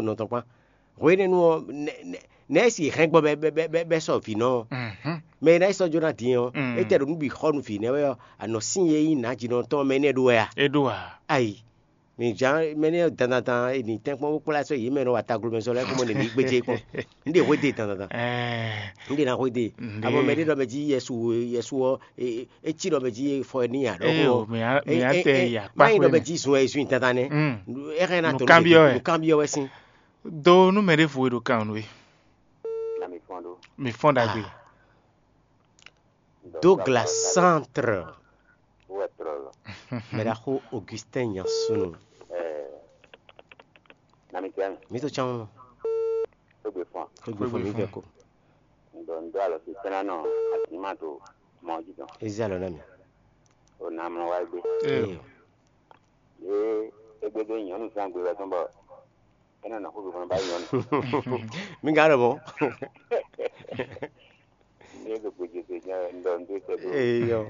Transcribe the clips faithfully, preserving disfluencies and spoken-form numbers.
nɔ tɔn kpán. Hwenɛ́nu ɔ́, nɛ̌ si hɛn gbɔ bɛ bɛ bɛ sɔ vǐ nɔ ɔ́? Mɛ e ná yi sɔ́ jó ná din ɔ́, é tɛ ɖo nǔ bǐ xɔ nú vǐ nɛ́ wɛ ɔ́, anɔ sín e nyí nǎjínɔ tɔn mɛ nɛ́ ɖó wɛ a? É ɖó a? Ayi. Mi jǎn mɛ nɛ́ dandandan e nǐ tɛ́nkpɔ́n bó kplá sɔ́ yě mɛ nɔ wa taglomɛ sɔ lɛ́ɛ kó mɔ nɛ̌ ní gbéjé kpɔ́n. Un ɖe hwéde dandandan. Un ɖe ná hwéde. Abɔ mɛ ɖé ɖɔ mɛ jí Yɛsu Yɛsu ɔ́, é cí ɖɔ mɛ jí fɔ ɛ ní nya ɖɔhun ɔ́. Má nyí ɖɔ mɛ jí zun ɛ zun dandan nɛ́. É hɛn ná tó nǔkanbyɔ́ wɛ. Nǔkanbyɔ́ wɛ sín. Do nú mɛ ɖěvo e ɖo kan nú we. Mi fɔ́n ɖagbe. Douglas Centre. Mɛ ɖaxó Augustin Nyansunu. Mi to cán. Xwé fún mi vɛ ko. Ŋdɔ ŋdɔ alɔ si tɛ́nɛ nɔ azǐma to mɔ jí tɔn. Ezi alɔ ná mi. O na mlɔ wá gbé. Ee. Ye egbe dó nyɔ̌nu zán gbe wɛ tɔn bɔ é nɔ nɔ xó gbé fún ba nyɔ̌nu. Mi ga ɖɔ mɔ. Ní é ɖo gbèjè nya ŋdɔ ŋdɔ tɛ ɖo. Eyɔ.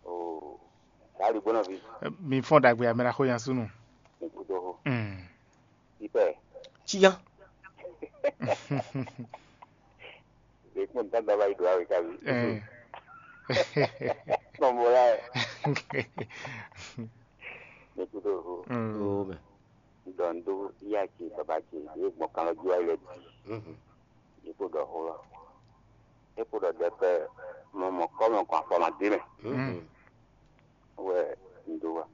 O. Sali gbɔnɔ vi. Mi fɔn ɖagbe amɛ la xó nya súnú. Ní kúdó xó. Ipɛ. Ciya. Ɖe kpɔn ntá daba yi do awe kavi. Kpɔn bo la. Ní kúdó xó. O mɛ. Ɖɔ ŋ ɖó yá ce baba ce ɖě gbɔn kan lɔ jí wá yi lɛ bǐ. Yě kpo ɖɔ xó lɔ. É kpo ɖɔ ɖɛkpɛ mɔ mɔ kɔ́ mɔ kɔn afɔ ma dé mɛ. Wɛ un ɖó wa.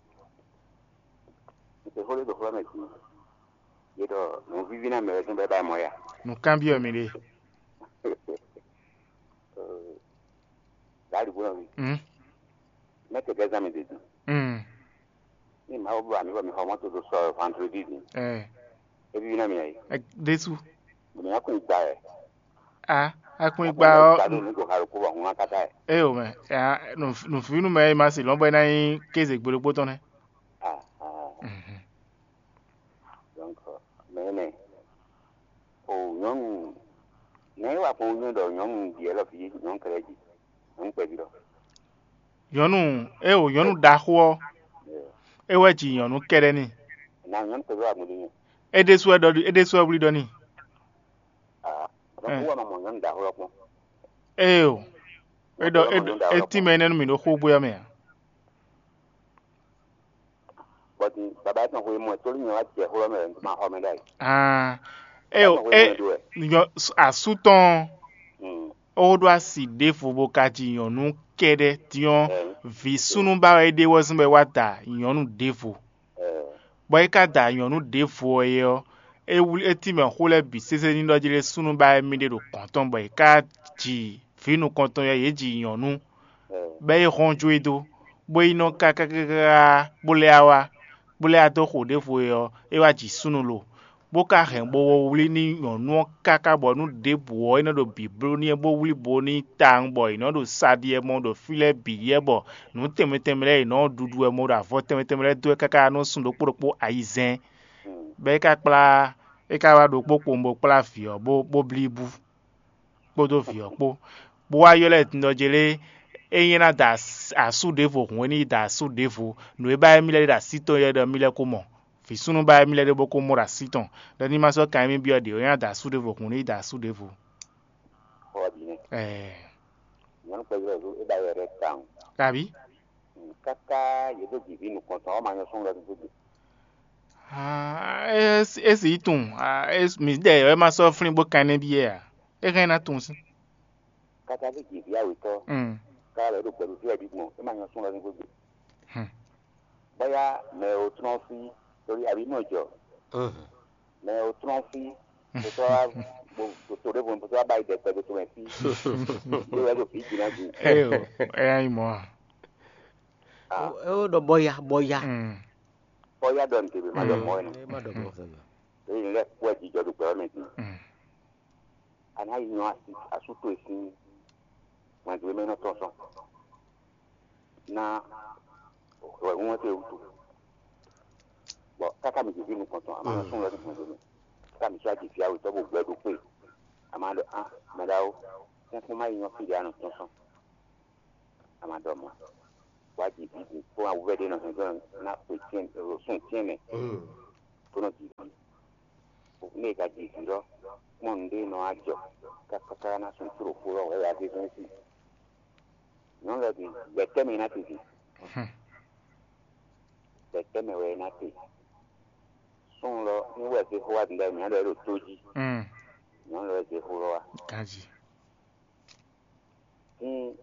Un se xó ɖé ɖo xlɔ́ mɛ din. Yě ɖɔ nǔ víví ná mɛ wɛ sín bɔ é ba mɔ ya. Nǔkanbyɔ́ mi ɖe. Dali bó nɔ mi. Mɛ kɛkɛ zan mi ɖe din. Ní Mawu bló amǐ bɔ mi xɔ mɔto ɖo sɔ vendredi din. Ɛ É víví ná mi ɛ. Ɖésú. Bɔ mi ná kún gba ɛ. A akún gba ɔ. Gba ɖo nǔ ɖo xalo kó bɔ hun ná kata ɛ. Eye o mɛ, nùfínú mɛ e ma se lɔn bɔ é ná nyí kéze gbeɖokpó tɔn nɛ́. Ah ah. Donc mɛ nɛ o nyɔnu nɛ é wa kpɔn nyɔnu ɖɔ nyɔnu ɖi ɛlɔ fi nyɔnu kɛlɛ ji nyɔnu kpɛví ɖɔ. Nyɔnu, é o nyɔnu ɖaxó ɔ́, é wɛ ji nyɔnu kɛɖɛ n'i. Na nyɔnu kpɛví wa gbɔn ɖi nyɛ. É ɖésú wɛ ɖɔ é ɖésú wɛ wlí ɖɔ n'i. Ah, donc wɔ ma mɔ nyɔnu ɖaxó ɔ́ kpɔn. Ée o, é ɖɔ é tínmɛ énɛ́ nú mì ɖo xógbé ɔ́ mɛ ǎ. Bɔti baba etɔn xwe mɔ tóli nyɔ wá jɛ xó lɔ mɛ ma xɔ mɛ ɖ'ayǐ. Ah, é o é nyɔ asú tɔn ó ɖó asi ɖěvo bó ka ji nyɔ̌nu kɛ́ɖɛ́, din ɔ́, vǐ súnnu ba wɛ é ɖe wɛ zɔ́n bɔ é wá da nyɔ̌nu ɖěvo. Bɔ é ka da nyɔ̌nu ɖěvo ɔ́ é ɔ́, é wlí é tínmɛ xó lɛ́ɛ bǐ sésé ní ɖɔ jí lé súnnu ba wɛ mì ɖe ɖo gɔ̌n tɔn bɔ è ká ji vǐ nukɔntɔn ɔ́, yě ji nyɔ̌nu, bɔ é hɔn jó e dó, bó yi nɔ káká káká bó lɛ́ wá wá, bó lɛ́ wá dó xo ɖěvo é ɔ́, é wá ji súnnu lo, bó ka hɛn bo wɔ wlí n'i nyɔ̌nu ɔ́ káká bɔ nú ɖěbǔ ɔ́, é nɔ ɖo bǐbló n'i bó wlí bo n'i tawun bɔ è nɔ ɖo sa ɖi wɛ mɔ ɖo fí lɛ́ɛ bǐ ɖi wɛ bɔ nǔ tɛnmɛ tɛnmɛ lɛ́ɛ è nɔ ɖuɖu wɛ mɔ ɖo avɔ tɛnmɛ tɛnmɛ lɛ́ɛ dó wɛ káká nɔ sun ɖokpó ɖokpó ayizɛ́n. Bɔ é ka kplá é ka wá ɖokpó kpowun bó kplá vǐ ɔ́ bó bó blí bú kpódó vǐ ɔ́ kpó, bó wá ylɔ́ ɛ din ɖɔ jlé é nyí ná da asú ɖěvo hǔn é ní yi da asú ɖěvo, nǔ e ba émí lɛ́ɛ ɖe ɖo así tɔn é ɖɔ émí lɛ́ɛ ko mɔ. Vǐ súnnu ba émí lɛ́ɛ ɖé bó ko mɔ ɖo así tɔn, ɖɔ ní ma sɔ́ kan émí byɔ́ ɖě, é ná da asú ɖěvo hǔn é ní yi da asú ɖěvo. Ɛɛ. Nyɔnu kpɛví ɔ́ é ba yɔ ɖɛ tawun. Kabi? Káká yě dó jǐví nukɔntɔn ɔ́ ma nyɔ sɔ́n lɔ dó gbé. Ah, é si tunwun, ah, é, mǐ ɖɛ wɛ ma sɔ́ flín bó kan énɛ́ byɔ́ ɛ ǎ. É hɛn ná tunwun sín. Káká dó jǐví awětɔ́. Mm. Ká lɛ́ ɖo gbɛɖú fí wɛ bí gbɔn é ma nyɔ sɔ́n lɔ dó gbé. Hmm. Bóyá mɛ ò trɔ́n fí torí àbí mɔ jɔ. Mɛ ò trɔ́n fí tó wá tó ɖěvo tó wá bá yi dɛkpɛ tó mɛ fí. Tó wá ɖo fí jìnnà jù. Ɛ o, ɛ yá yi mɔ a. É ó ɖɔ bɔya bɔya. Bɔya ɖɔ nǔ tebe ma ɖɔ mɔ ɛ nɔ. Má ɖɔ mɔ fɛnɛ. Èyí lɛ kpɔ jijɔ ɖo gbɛ mɛ din. A ná yi nyɔ asú tó e sín wɛndu e mɛ nɔ tɔn sɔn. Ná wɛhun wɛn tɛ wutu. Bɔ káká mi jèjì nukɔntɔn a ma nɔ sún wɛ nukɔntɔn mɛ. Káká mi sɔ aji fia wetɔ bo gbɛ ɖo kpe. A ma ɖɔ a mɛ ɖawo. Sɛn kpɔn ma yi nyɔ fi ɖe a nɔ tɔn sɔn. A ma ɖɔ mɔ. Wa ji bi di kpɔn awuvɛ ɖe nɔ hɛn gbɔn na kpe tiɛn ro sun tiɛn mɛ. Kó nɔ ji. Nú è ka ji vǐ lɔ, kpɔ́n nǔɖé e nɔ wá jɔ káká ná sun tló xó lɔ wɛ wá zé zɔ́n sí. Nyɔ̌nu lɔ din, gbɛ̌ tɛ́ mɛ ná titi. Gbɛ̌ tɛ́ mɛ wɛ é ná te. Súnnu lɔ ní wɛ zé xó wá din ɖ'ayǐ mǐ ɖɔ é ɖo tó jí. Nyɔ̌nu lɔ wɛ zé xó lɔ wá. Ganji. Din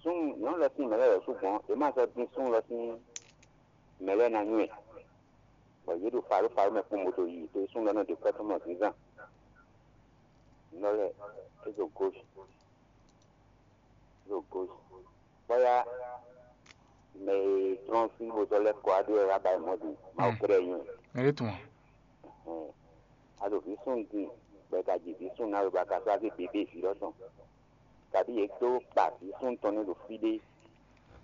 súnnu nyɔ̌nu lɔ sín mɛ lɛ́ɛ wɛ sú gbɔn, è má sɔ́ dín súnnu lɔ sín mɛ lɛ́ɛ ná nywɛ́, bɔ yě ɖo faɖófaɖó mɛ kpɔ́n bó ɖo yiyi, to e súnnu lɔ nɔ ɖe kwɛ́ tɔn mɔ zínzán. Nɔ lɛ é ɖo gauche, é ɖo gauche. Bɔ́yá mɛ e tlɔ́n fí bó sɔ́ lɛ́ kɔ wá ɖó wɛ wá ba yi mɔ̌ din, Mawu kɛ́ɖɛ́ nyí wɛ. Mɛ ɖé tun ǎ. Ɛhɛn. A ɖo vǐ súnnu din, bɔ è ka ji vǐ súnnu ná we bɔ a ka sɔ́ wá zé bǐbí vǐ lɔ tɔn. Kabi yě dó kpa vǐ súnnu tɔn nɛ́ ɖo fí ɖé,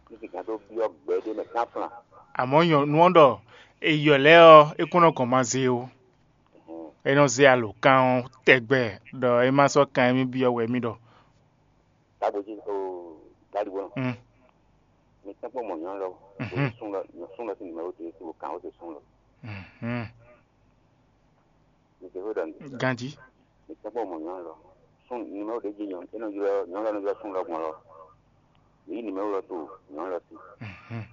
ní sixá dó byɔ́ gbɛ ɖé mɛ kánflán. Àmọ́ nyɔ̌nu ɔ́ ɖɔ è yɔ lɛ́ɛ ɔ́, é kún nɔ gɔn ma zé ó. É nɔ zé alǒkan ɔ́ tɛgbɛ ɖɔ é má sɔ́ kan émí byɔ́ wɛ émí ɖɔ. Tágbó jí o, Gálígbónɔ. Mm. Mi tɛ́nkpɔ́n mɔ nyɔ̌nu lɔ, Mhm. Sún lɔ, nyɔ sún lɔ sín nǔmɛ́ ó dé, o kàn ó se sún lɔ. Mhm. Mi se xó ɖɔ nǔ. Ganjí. Mi tɛ́nkpɔ́n mɔ nyɔ̌nu lɔ. Sún nǔmɛ́ ó ɖě jí nyɔ̌nu, é nɔ ylɔ́, nyɔ̌nu lɔ nɔ ylɔ́ sún lɔ gbɔn lɔ. Mi yí nǔmɛ́ ó lɔ to nyɔ̌nu lɔ sí. Mhm.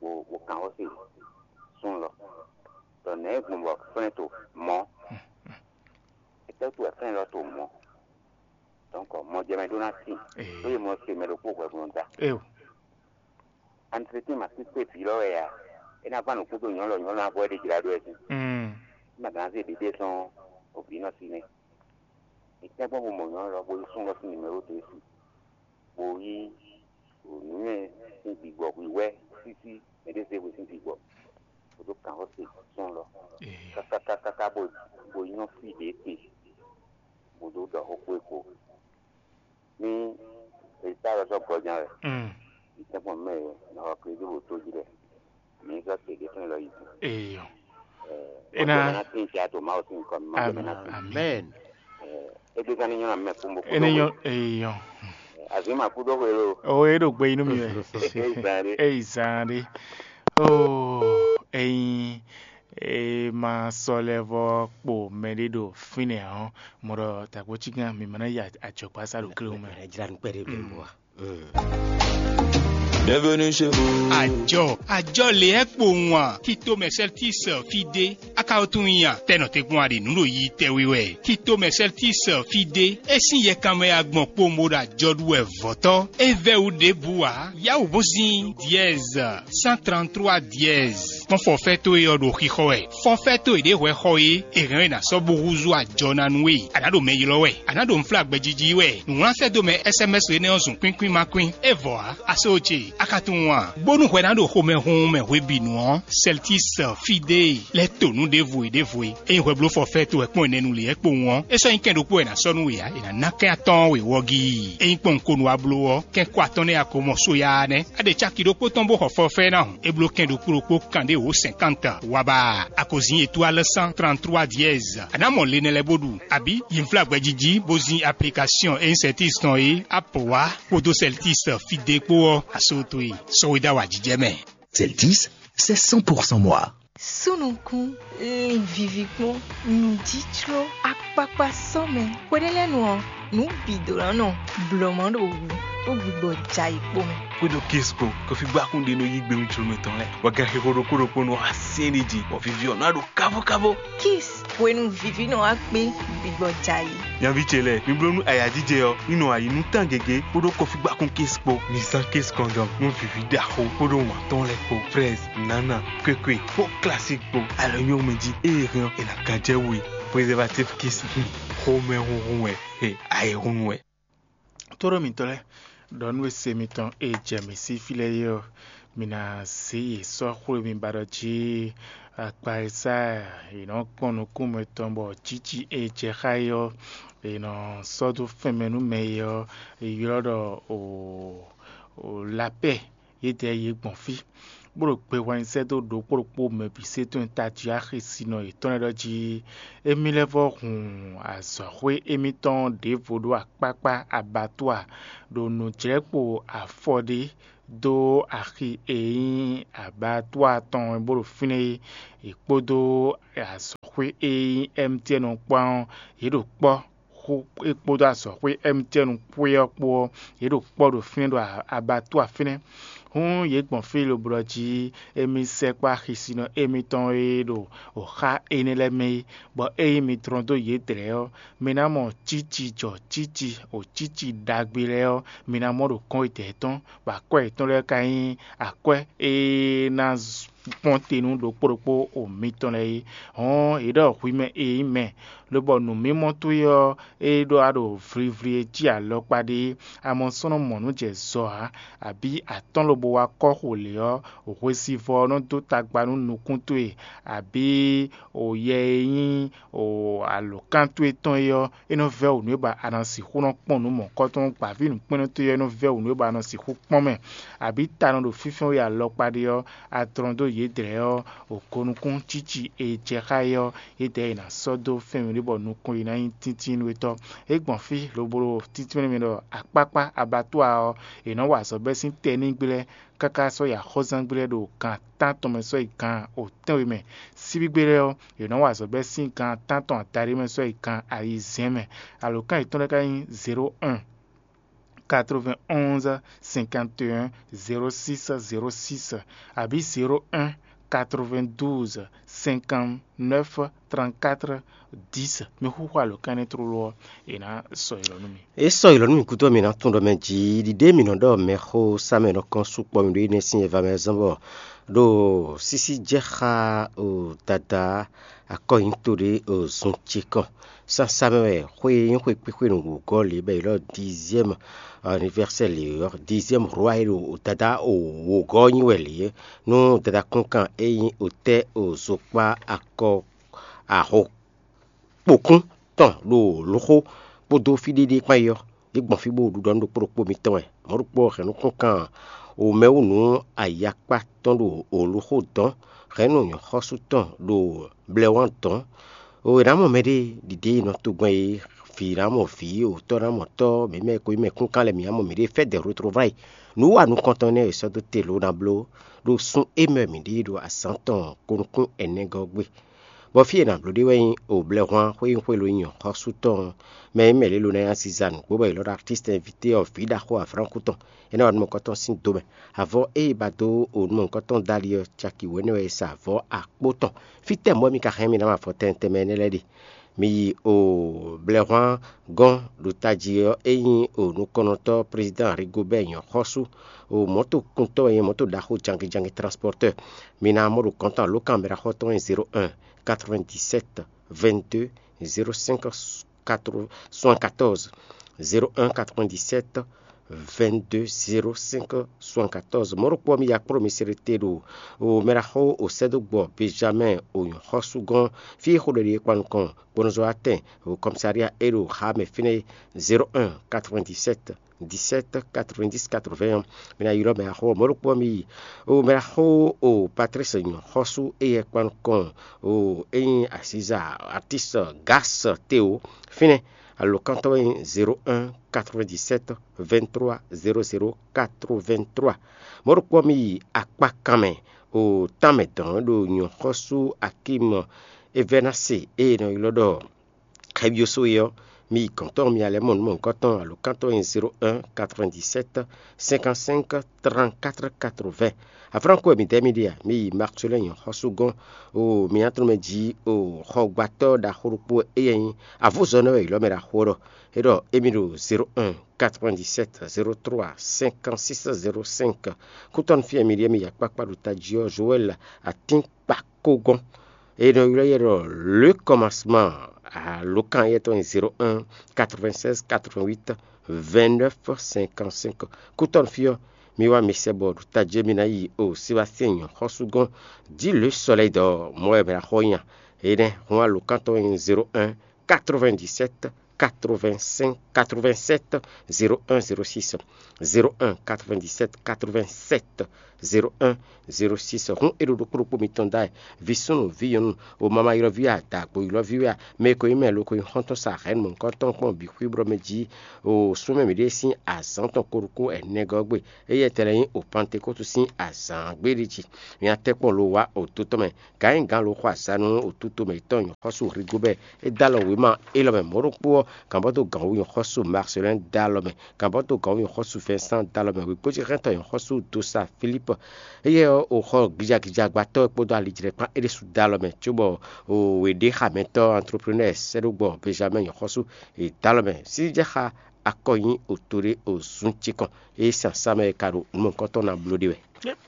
Wo, wo kàn ó se sún lɔ. Ɖɔ nɛ̌ gbɔn bɔ flɛ́n to mɔ̌. Étɛ́ wútu wɛ flɛ́n lɔ to mɔ̌? Donc mɔjɛmɛ ɖó ná tíin, Ee. Bó yi mɔ se mɛ ɖokpó hwɛhwlɔ́n da. Eo. Anitretɛ́n ma kpékpé vǐ lɔ wɛ a? É ná gbán nǔkún dó nyɔ̌nu lɔ, nyɔ̌nu ná vɔ é ɖe jlá ɖó wɛ sín. Mm. É ma gǎn zé ɖiɖe tɔn o vǐ nɔ sí nɛ́. È tɛ́ gbɔn bo mɔ nyɔ̌nu lɔ, bó yi sún lɔ sín nǔmɛ́ ɖó dó é su. Bó yí nǔnywɛ́ sín gbigbɔ hwǐhwɛ́ sísí mɛ ɖé zé hwe sín gbigbɔ. Bó dó kǎn xó se sún lɔ. Ee. Káká káká bó bó nyɔ́ fí ɖě te. Bó dó ɖɔ xó kpó é kpo. Ní èyí tá lɔ sɔ́ gɔján wɛ, Mm. Ìtẹ́gbọ̀n mɛ ná wá pé dó wò tó jí lɛ. Mǐ sɔ́ te ɖě fɛn lɔ yi. Eyɔ. Ena Ena ná tín tsi ato Mawu sín nukɔn mǐ má Am- jɛ mɛ ná tín. Amen. Égbe gán ní nyɔ́ ná mɛ kpónbó Ene nyɔ eyɔ. Azǐ ma kú dó hwe lo. O e ɖo gbe inú mi wɛ. Égbe zan ɖé. Eyi zan ɖé. O eyin e ma sɔ lɛ vɔ kpo mɛ ɖé ɖo fínɛ́ ɔ́, mɔ ɖɔ tagbo cí gán mi ma ná yi ajɔkpa sa ɖo kléwú mɛ. Ɛ jra nu kpɛɖé bɛ bɔ wa. Bienvenue chez vous. Àjọ àjọ lě ɛ kpo wan tito mɛ sɛltis fí ɖé. Akawo tún nya tɛnɔ tɛgbɔn aɖe nǔ ɖo yi tɛwi wɛ. Tito mɛ sɛltis fí ɖé. É sín yɛkanmɛ agbɔn kpo mo ɖo àjɔ ɖu wɛ vɔ̌tɔ́. É vɛ́ wú ɖěbǔ ǎ. Yáwǔ bó sín diɛz cent trente-trois diɛz. Kpɔ́n fɔfɛ́ towe ɔ́ ɖo xixɔ wɛ. Fɔfɛ́ towe ɖě hwɛ xɔ é, è hɛn we ná sɔ́ bó húzú ajɔ ná nú we. A nǎ ɖo mɛ ylɔ́ wɛ, a nǎ ɖo nflágbɛjiji wɛ. Nǔwlán sɛ́ dó mɛ S M S énɛ́ ɔ́ zun kpínkpín ma kpín. É vɔ ǎ, a só ce, a ka tunwun a? Bónú hwɛ ná ɖo xomɛhunhun mɛ hwebǐnu ɔ́, Sɛltis Fidée lɛ́ to nǔ ɖěvo e ɖěvo e. Ényí hwɛ bló fɔfɛ́ towe kpɔ́n ɛnɛ nu lě ɛ kpowun ɔ́, é sɔ́ nyí kɛn ɖokpó wɛ è nǎ sɔ́ nú we ǎ, è nǎ ná kɛn atɔ́ɔ́n we wɔ́gí. Ényí kpɔ́n un ko nu wá bló ɔ́, kɛn kɔ atɔn nɛ́ a ko mɔ só ya ɔ́ nɛ́. A ɖe caki ɖokpó tɔn bó xɔ fɔfɛ́ ná hǔn. É bló kɛn ɖokpó ɖokpó kanɖé wǒ sɛnkánt. Waba, a ko zin étoile cent trente-trois dièse. A nǎ mɔ le nɛ lɛ́ɛ bó ɖu, abǐ yi nflágbɛjí jí bó zin aplikasiɔn e nyí Celtics tɔn é, Apple wá kpódó Celtics Fidée kpó ɔ́, a só towe sɔ́ we dó awǎjijɛ mɛ. Celtics, c'est cent pour cent moi. Súnukún, lin vivi kpɔ́n, nǔjícló, akpakpa sɔ́mɛ. Hweɖélɛ́nu ɔ́, nǔ bǐ ɖó ná nɔ blɔ̌ má ɖo wǔ kpó gbigbɔ jɛ ayǐ kpó mɛ. Xwédo Kisco, kɔfígbákún ɖé nɔ yí gbe nú jlomɛ tɔn lɛ́ɛ, bɔ ganxixo ɖokpó ɖokpó nɔ wá syɛ́n ɖ'é jí, bɔ vivi ɔ́ ná ɖo káfókáfó. Kis, hwenu vivi nɔ wá kpé gbigbɔ jɛ ayǐ. Nyaví ce lɛ́ɛ, mi bló nú ayǎjijɛ ɔ́, ní nɔ ayǐ nú tán gěgé kpódó kɔfígbákún Kis kpó. Mi zán Kis kɔndɔm nú vǐví ɖaxó kpódó wǎn tɔn lɛ́ɛ kpó, fraise, nǎna, kwékwe kpó classique kpó. Alɔ nyɔ́ mɛ jí, ée hɛn ɔ́, è nǎ gán jɛ we. Préservatif Kis, xomɛ hunhun wɛ, he, ayǐhúnnu wɛ. Tóɖó mitɔ́ lɛ́ɛ, ɖɔ nú e se mitɔn e jɛ mǐ sí fí lɛ́ɛ é ɔ́, mi ná zě yě sɔ́ xwé mi ba ɖɔ jí akpa e sá è nɔ kpɔ́n nukún mɛtɔn bɔ jǐ ce e jɛ xá é ɔ́, è nɔ sɔ́ dó fɛnmɛ nú mɛ é ɔ́, è ylɔ́ ɖɔ o, o lapɛ́. Yědɛɛ yě gbɔn fí, bó ɖo gbe hwlɛ́n sɛ́ dó ɖokpó ɖokpó mɛ bǐ sé tɔn e tají axi sinɔ yětɔn lɛ́ɛ ɖɔ jí émí lɛ́ vɔ́ hun azɔ̌xwé émítɔn ɖěvo ɖó akpákpá abattoir ɖo nǔjlɛ́kpo afɔ ɖé dó axi e nyí abattoir tɔn bó ɖo fínɛ́ é, yě kpódó azɔ̌xwé e nyí M T N kpán ɔ́, yě ɖo kpɔ́ xó é kpódó azɔ̌xwé M T N xwé ɔ́ kpó ɔ́, yě ɖo kpɔ́ ɖo fínɛ́ ɖo abattoir fínɛ́. Hǔn yě gbɔn fí lobo ɖɔ jí émí sɛkpɔ́ axisinɔ émítɔn e ɖo xá énɛ́ lɛ́ɛ mɛ é, bɔ ényí mi tlɔ́n dó yědɛɛ ɔ́, mi ná mɔ cíci jɔ cíci o cíci ɖagbe lɛ́ɛ ɔ́, mi ná mɔ ɖo kɔn etɛ́ tɔn, bɔ akwɛ́ yětɔn lɛ́ɛ ka nyí akwɛ́ e ná kpɔ́n te nú ɖokpó ɖokpó o mitɔn lɛ́ɛ é. Hɔn, è ɖɔ hwi mɛ e nyí mɛ, lobɔ nǔmimɔ towe ɔ́, é ɖó a ɖo vlivli e cí alɔkpa ɖe é, a mɔ sɔ́ nɔ mɔ nǔ jɛ zɔ ǎ, abǐ atɔ́n lobo wá kɔ́ xo lě ɔ́, hwesivɔ́ ɔ́ nɔ dó tagba nú nukún towe, abǐ o yɛ e nyí o alǒkan towe tɔn é ɔ́, é nɔ vɛ́ wǔ nú é ba a nɔ sixú nɔ kpɔ́n nǔ mɔ̌kɔ́tɔn, gbǎví nǔkpɛ́nnɔ towe ɔ́ é nɔ vɛ́ wǔ nú é ba a nɔ sixú kpɔ́n mɛ, abǐ ta nɔ ɖo fínfɛ́n we alɔkpa ɖe ɔ́, a tlɔ́n dó yědɛɛ ɔ́, o ko nukún cíci e jɛ xá é ɔ́, yědɛɛ è nǎ sɔ́ dó fɛ́nwǐ ɖé bɔ nukɔn yi ná nyí tíntínnú étɔ́. É gbɔn fí lobo ɖo títínmɛ mɛ ɖɔ akpákpá abattoir ɔ́, è nɔ wa azɔ̌ bɛ́ sín tɛnígblɛ́ káká sɔ́ yi axɔ́zángbí lɛ́ɛ ɖo gan tántɔn mɛ sɔ́ yi gan otɛ́nwe mɛ. Síbígbe lɛ́ɛ ɔ́, yě nɔ wa azɔ̌ bɛ́ sín gan tántɔn adaɖé mɛ sɔ́ yi gan ayizɛ́n mɛ. Alǒkan yětɔn lɛ́ɛ ka nyí zéro un, quatre-vingt-onze, cinquante et un, zéro six, zéro six, abǐ zéro un, quatre-vingt-douze, cinquante-neuf, trente-quatre, dix. Mi xúxú alǒkan énɛ́ tlóló ɔ́, è nǎ sɔ́ yi lɔ nú mi. É sɔ́ yi lɔ nú mǐ gúdo ɔ́, mǐ ná tunwun ɖɔ mɛ jǐ ɖiɖe mǐ nɔ ɖɔ mɛxó sá mɛ nɔ kɔn sukpɔ́ mǐ ɖó énɛ́ sín e va mɛ zɔ́n bɔ ɖo sísí jɛ xá o dada akɔ́nyito ɖé o zun ce kɔn. Sásá mɛ wɛ xwé e nyí xwé kpíxwé nǔ wǔgɔ́ lě bɔ è ylɔ́ dixième anniversaire lě ɔ́, dixième roi e ɖo dada o wǒgɔ́ nyi wɛ lě é. Nú dada kúnkan e nyí otɛ́ o zokpá akɔ aho kpokún tɔn ɖo lǒxó kpódó fí ɖéɖé kpán é ɔ́, yě gbɔn fí bó ɖuɖɔ nú ɖokpó ɖokpó mitɔn wɛ. Mɔ̌ ɖokpó hɛ̌nnu kúnkan wǒmɛwú nú ayakpá tɔn ɖo lǒxó dɔn, hɛ̌nnu nyɔ̌xɔ́sú tɔn ɖo blɛ́wán dɔn. O è nǎ mɔ mɛɖée ɖiɖe e nɔ togbɛn é, vǐ ná mɔ vǐ, otɔ́ ná mɔ tɔ́, mǐ mɛ e ko nyí mɛ kúnkan lɛ́ɛ mǐ ná mɔ mǐɖée fɛ́ dɛ̌ hlotló vá yi. Nǔ wa nukɔntɔn énɛ́ e è sɔ́ dó te lǒ ná bló ɖo sun e mɛ mǐ ɖe ɖo azǎn tɔn ko nukún ɛnɛgɔ́ gbe. Bɔ fí e è nǎ bló ɖe wɛ nyí oblɛ́hwan xwé nyí xwé lo nyí nyɔ̌xɔ́sú tɔn ɔ́, mɛ e mɛ lě lo ná nyí aziza nǔgbó bɔ è lɔ́ ɖɔ artíst invité ɔ́ vǐ ɖaxó Aflánku tɔn, é ná wa nú mɔ̌kɔtɔn sín do mɛ. Avɔ e è ba dó o nú mɔ̌kɔtɔn dó ali ɔ́, caki wěnɛ́ wɛ è sa avɔ akpó tɔn. Fítɛ́ mɔ̌ wɛ mi ka hɛn mì ná mɔ avɔ tɛnmɛ tɛnmɛ énɛ́ lɛ́ɛ ɖe? Mi yi o blɛ́hwan gɔ́n ɖo tají ɔ́, é nyí o nukɔnnɔtɔ́ Président Rigobɛ́ɛ nyɔ̌xɔ́sú, o mɔ̌tokuntɔ́ wɛ nyí mɔ̌to ɖaxó jangijangi transportɛ́r. Mi ná mɔ ɖo kɔ́ntɔn alǒkan mɛɖaxɔ́tɔn e zéro un, quatre-vingt-dix-sept, vingt-deux, zéro cinq, soixante-quatorze, zéro un, quatre-vingt-dix-sept, vingt-deux, zéro cinq, soixante-quatorze. Mɔ̌ ɖokpó ɔ́, mi yi akpɔ́ ɖo mi se ɖo te ɖo o mɛɖaxó o sɛ́dó gbɔ Benjamin o nyɔ̌xɔ́sú gɔ́n fí e xó ɖɔ ɖe é kpan nukɔn gbɔnɔzɔ́watɛn o kɔmsária é ɖo xá mɛ fínɛ́ é, zéro un, quatre-vingt-dix-sept, dix-sept, quatre-vingt-dix, quatre-vingts ɔ́, mi ná ylɔ́ mɛ axó ɔ́. Mɔ̌ ɖokpó ɔ́, mi yi o mɛ axó o Patrice nyɔ̌xɔ́sú éyɛ́ kpan nukɔn o é nyí asiza artiste Gas Théo fínɛ́. Alǒkantɔ́ wɛ nyí zéro un, quatre-vingt-dix-sept, vingt-trois, zéro zéro, quatre-vingt-trois. Mɔ̌ ɖokpó ɔ́, mi yi akpakan mɛ o tánmɛ dɔn ɖo nyɔ̌xɔ́sú Akim Evɛnase e è nɔ ylɔ́ ɖɔ Xɛbyosó é ɔ́, mi yi gɔ̌n tɔn, mi alɛ̌ mɔ nǔ mɔ̌hunkɔtɔn alǒkantɔ́ e nyí zéro un, quatre-vingt-dix-sept, cinquante-cinq, trente-quatre, quatre-vingts. Aflánko wɛ midɛɛ mi ɖe a? Mi yi Maxwell nyɔ̌xɔ́sú gɔ́n o mi nyatrɔ́mɛ jí o xɔgbátɔ́ ɖaxó ɖokpó e nyí avǔzɔ́nɔ wɛ è ylɔ́ mɛ ɖaxó ɔ́ ɖɔ. É ɖɔ émí ɖo zéro un, quatre-vingt-dix-sept, zéro trois, cinquante-six, zéro cinq. Kútɔ́nú fí e mi ɖíe mi yi akpákpá ɖo tají ɔ́, Joel Atínkpakó gɔ́n. E nɔ ylɔ́ yɛ ɖɔ le commencement alǒkan éyɛ́ tɔn nyí zéro un, quatre-vingt-seize, quatre-vingt-huit, vingt-neuf, cinquante-cinq. Kútɔ́nú fí ɔ́, mi wá mi sɛ bɔ ɖo tají mi ná yi o Sébastien nyɔ̌xɔ́sú gɔ́n. Dǐ le sɔlɛ́ dɔ mɔ̌ wɛ mɛ ná xɔ nya. Énɛ́ hun alǒkan tɔn nyí zéro un, quatre-vingt-dix-sept, quatre-vingt-cinq quatre-vingt-sept zéro un zéro six, zéro un quatre-vingt-dix-sept quatre-vingt-sept zéro un zéro six. Hǔn é ɖo ɖokpó ɖokpó mitɔn ɖ'ayǐ, vǐ súnnu, vǐ nyɔ̌nu, o mama ylɔ́ví a, dǎgbo ylɔ́ví wɛ a, mɛ e ko nyí mɛ lo ko nyí xɔ́ntɔn sa hɛ̌nnu mɔ̌hunkɔtɔn kpɔ́n bǐ xwíblɔ́ mɛ jí, o súnmɛ mǐɖée sín azǎn tɔn ko ɖokpó ɛnɛgɔ́ gbe, éyɛ́ tɛlɛ nyí o Pantekótu sín azǎn gbéɖé jí. Nya tɛ́ kpɔ́n lo wá o dó tɔn mɛ, gǎn nyí gǎn lo xɔ azǎn nú o tútomɛ yětɔn nyɔ̌xɔ́sú Rigobɛ́ɛ. É dó alɔ wěma élɔ́ mɛ mɔ̌ ɖokpó ɔ́, gǎnbɔ́dó gǎnwú nyɔ̌xɔ́sú Marcelin dó alɔ mɛ, gǎnbɔ́dó gǎnwú nyɔ̌xɔ́sú Vincent dó alɔ mɛ, wěgbójíhɛntɔ́ nyɔ̌xɔ́sú Dosa Philippe. Éyɛ́ ɔ́, o xɔ gijagijagbatɔ́ e kpódó alijlɛ́kpán é ɖésú dó alɔ mɛ, cóbɔ o wěɖéxamɛtɔ́ entrepreneur sɛ́ɖógbɔ Benjamin nyɔ̌xɔ́sú è dó alɔ mɛ. Sísí jɛ xá akɔ nyí o to ɖé o zun cikɔn, ée sín asá mɛ e ka ɖo nǔ mɔ̌hunkɔtɔn ná bló ɖe wɛ.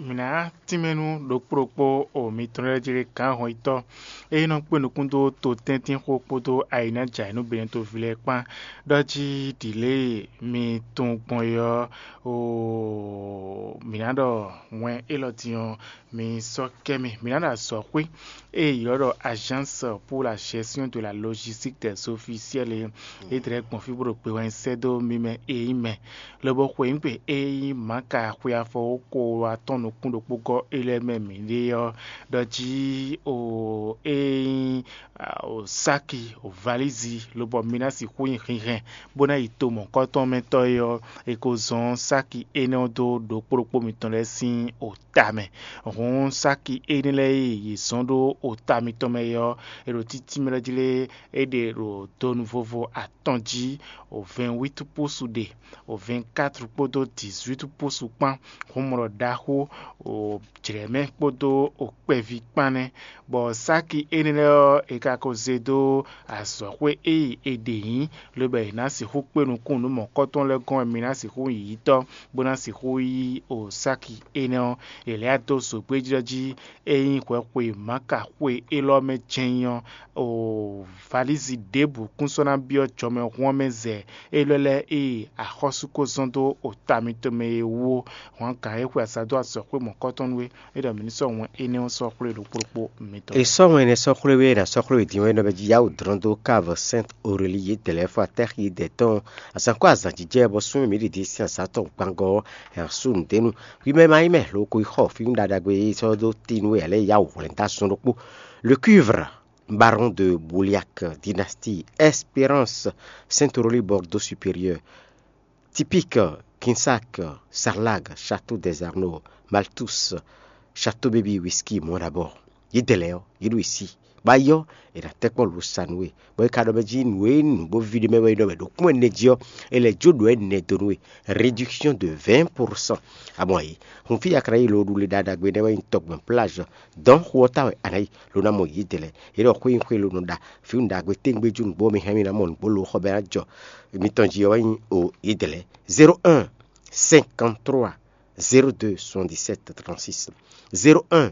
Mǐ ná tínmɛ nú ɖokpó ɖokpó o mitɔn lɛ́ɛ jí ɖe gǎn hɔnyitɔ́ e nɔ kpé nukún dó to tɛ́ntin xó kpódó ayǐnájǎ e nú Benɛtoví lɛ́ɛ kpán, ɖɔ jí ɖǐ lě e mi tunwun gbɔn é ɔ́, oo, mǐ ná ɖɔ wɛn élɔ́ din ɔ́, mi sɔ́ kɛ mì. Mǐ ná ɖo azɔ̌xwé e è ylɔ́ ɖɔ Agence pour la gestion de la logistique des officiels é, é dlɛ̌ gbɔn fí bó ɖo gbe wɛn sɛ́ dó mi mɛ e nyí mɛ, lobo xweyǐgbe e nyí Maka xwe afɔwókpo atɔ́ɔ́n nukún ɖokpó gɔ́ é lɛ́ɛ mɛ mǐɖée ɔ́, ɖɔ jí o e nyí sáki, valízi, lobɔ mi ná sixú nyi hinhɛn bó ná yi to mɔ̌hunkɔtɔn mɛ tɔn é ɔ́, è ko zɔ́n sáki énɛ́ ɔ́ dó ɖokpó ɖokpó mitɔn lɛ́ɛ sín o ta mɛ. Hǔn sáki énɛ́ lɛ́ɛ e yě zɔ́n ɖó o ta mitɔn mɛ é ɔ́, è ɖo títí mɛ lɛ́ɛ jí lé, é ɖe ɖo donu vovo atɔn jí, o vɛ̌nwítu púsu ɖe, o vɛ̌nkátru kpódó dǐzwítu púsu kpán, hǔnmlɔ ɖaxó, o jlɛ̌mɛ kpódó o kpɛví kpán nɛ́. Bɔ sáki énɛ́ lɛ́ɛ ɔ́, è ka ko zé dó azɔ̌xwé e è ɖe nyǐ, lobo è nǎ sixú kpé nukún nǔ mɔ̌kɔ́tɔn lɛ́ɛ gɔ́n wɛ mi ná sixú nyí yitɔ́, bó ná sixú yí o sáki énɛ́ ɔ́. È lɛ̌ dó zogbéjlɔ́ jí, é nyí hwɛxwe Maka xwe élɔ́ mɛ jɛ́n nyí ɔ́, o valízi ɖěbǔ kún sɔ́ ná byɔ́ jɔmɛhún ɔ́ mɛ zɛ élɔ́ lɛ́ɛ e axɔ́sú ko zɔ́n dó o ta mitɔn mɛ é wú ó. Hwangǎn e xwe asá dó azɔ̌xwé mɔ̌kɔ́tɔn nú é, é ɖɔ mǐ ní sɔ́ wɛn énɛ́ ɔ́ sɔ́ xwlé ɖokpó ɖokpó mitɔn. È sɔ́ wɛn énɛ́ sɔ́ xwlé wé, è nǎ sɔ́ xwlé wě din wɛ é nɔ bɛ jí yá wǔ dlɔ́n dó kávu Sɛ́nt Orelíi yědɛɛ lɛ́ɛ fó atɛ́ xi yědɛɛ tɔn azǎn kpó azǎn jijɛ bɔ súnnu mǐ ɖi din sín azǎn tɔn gbangɔ ɔ́, è nǎ sú nǔɖé nu. Hwi mɛ ma nyí mɛ lo ko yi xɔ fí ɖaɖagbe e sɔ́ dó tín nú we ǎ lɛ́ɛ yá wǔ hwlɛ́n dó azɔn ɖokpó. Le cuivre, baron de Bouliac, dynastie Espérance, Saint-Aurélie, Bordeaux supérieur, Typique, Quinsac, Sarlag, Château des Arnaud, Malthus, Château Baby, Whisky, Mont d'Abord. Yědɛɛ lɛ́ɛ ɔ́, yě ɖo yě sí. Bɔ ayɔ, è nǎ tɛ́ kpɔ́ lǒ sa nú we, bɔ è ka ɖɔ mɛ jí nǔ e nǔ bó ví ɖé mɛ wɛ é nɔ mɛ ɖo kún ɛnɛ jí ɔ́, è lɛ̌ jó ɖǒ ɛnɛ dó nú we. Réduction de vingt pour cent. Amɔ ayǐ, hun fí e a ka ná yi lo ɖu le ɖaɖagbe nɛ́ wɛ nyí tɔgbɛn plage. Dɔ̌n xu ɔ́ ta wɛ a nǎ yi, lo ná mɔ yědɛɛ lɛ́ɛ. Yě ɖɔ xwé nyí xwé lo nɔ ɖa fí un ɖagbe téŋgbé jú nǔgbó mi hɛn mi ná mɔ nǔgbó lo xɔ bɛ ná jɔ mitɔn jí ɔ́ wɛ nyí o yědɛɛ lɛ́ɛ. Zéro un, cinquante trois, zéro deux, soixante dix sept, trente six, zéro un,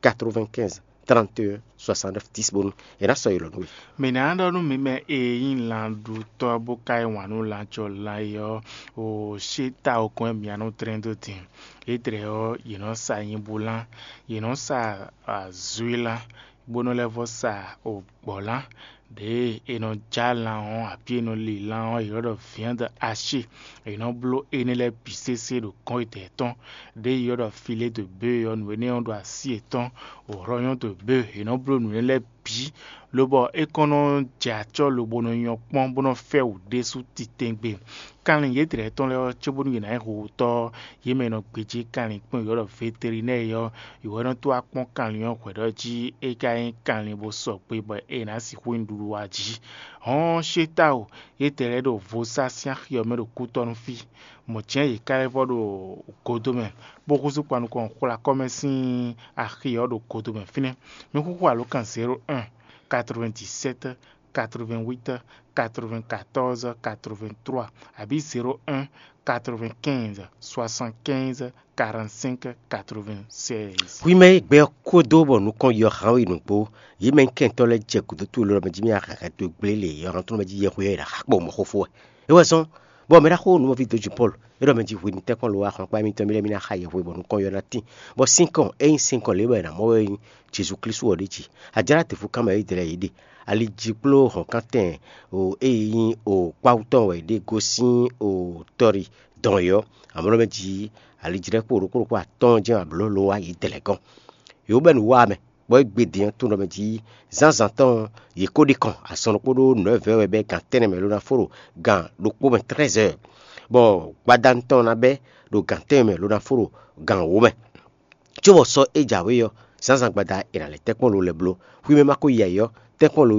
quatre vingt quinze, trente et un, soixante neuf, dix bónú è nǎ sɔ́ yi lɔ nú we. Mǐ ná ɖɔ nú mi mɛ e nyí lanɖutɔ́ bó ka yí wǎn nú lanjɔlan é ɔ́, o ṣé ta okɔn e mǐ ná nɔ dlɛ́n dó din. Yědɛɛ ɔ́, yě nɔ sa nyibúlán, yě nɔ sa azúilán, bó nɔ lɛ́ vɔ́ sa gbɔ̌lán. Ɖěe è nɔ já lan ɔ́, abǐ è nɔ li lan ɔ́, è nɔ ɖɔ viande haché. È nɔ bló énɛ́ lɛ́ɛ bǐ sésé ɖo gɔ́n yědɛɛ tɔn. Ɖěe è nɔ ɖɔ filé de bě ɔ́, nǔ énɛ́ ɔ́ ɖo así yětɔn. Hɔ̌nyɔ́ de bě, è nɔ bló nǔ énɛ́ lɛ́ɛ bǐ, lobɔ é kɔn nɔ jɛ acɔ́ lobo nɔ nyɔ́ kpɔ́n bó nɔ fɛ́ wǔ ɖésú titɛngbé. Kanlin yědɛɛ tɔn lɛ́ɛ ɔ́, cóbónú yě ná nyí howutɔ́ ɔ́, yě mɛ e nɔ gbéjé kanlin kpɔ́n yě ɖɔ veterinɛ́ɛ ɔ́, yě wɛ nɔ tó wá kpɔ́n kanlin ɔ́ hwɛ̌ ɖɔ jí é ka nyí kanlin bó sɔgbe bɔ è nǎ sixú nyi ɖuɖu wa jí. Hɔn ṣé táwo, yědɛɛ lɛ́ɛ ɖo vo sá sín axi ɔ́ mɛ ɖo kútɔ́ nú fí. Mɔ̌ jɛ́n yě ká lɛ́ vɔ ɖo godo mɛ, bó húzú kpan nukɔn xwla kɔ́ mɛ sín axi ɔ́ ɖo godo mɛ fínɛ́. Mi xúxú alǒkan zéro un, quatre-vingt-dix-sept, quatre-vingt-huit, quatre-vingt-quatorze, quatre-vingt-trois, abǐ zéro un, quatre-vingt-quinze, soixante-quinze, quarante-cinq, quatre-vingt-seize. Hwi mɛ e gbɛ ɔ́ kó dó bɔ nukɔn yɔ hán we nǔgbó, yě mɛ kɛntɔ́ lɛ́ɛ jɛ gǔdo towe lɔ mɛ jí mì ahɛhɛ towe gblé lě yɔ̌hantɔ́ mɛ jí yɛhweɖaxákpɔ́ mɔ̌ xó fó wɛ. É wɛ zɔ́n Bɔ mɛ ɖaxó nǔmɔví dǒ jǐ Pɔ́lu, é ɖɔ mɛ jí hwenu tɛ́nkpɔ́n lo wá xɔnkpá émítɔn mì lɛ́ɛ mì ná xa yɛhwe bɔ nukɔn ylɔ́ ná tín, bɔ sín kɔn é nyí sín kɔn lě bɔ è nǎ mɔ wɛ é nyí Jezu Klísu ɔ́ ɖíe jí. Ajǎ ná te fú kán mɛ é dlɛ́ yě ɖe. Ali jí kpló hɔ̌nkántɛn o é nyí o kpáwú tɔn wɛ yě ɖe gosín o tɔ́ɖi dɔn yě ɔ́, amɔ̌ mɛ jí alijlɛ́kpo ɖokpó ɖokpó atɔ́ɔ́n jɛ́n wɛ blǒ lo wá yě dlɛ̌ gɔ́n. Yě wú bɛ́ nǔ wa mɛ, bɔ é gbe din ɔ́ tunɔ mɛ jí zǎnzǎn tɔn yě ko ɖi kɔn azɔn ɖokpó ɖó nǔ ɛvɛ́ wɛ bɛ́ gan tɛ́nnɛ mɛ ló ná fó ɖo gan ɖokpó mɛ trɛ́zɛ́, bɔ gbadanu tɔn ná bɛ́ ɖo gan tɛ́nnɛ mɛ ló ná fó ɖo gan wǒ mɛ. Cóbɔ sɔ́ é jǎwe ɔ́, zǎnzǎn gbada è nǎ lɛ́ tɛ́nkpɔ́n lo lɛ́ bló. Xwimɛ ma ko yi ayǐ ɔ́, tɛ́nkpɔ́n lo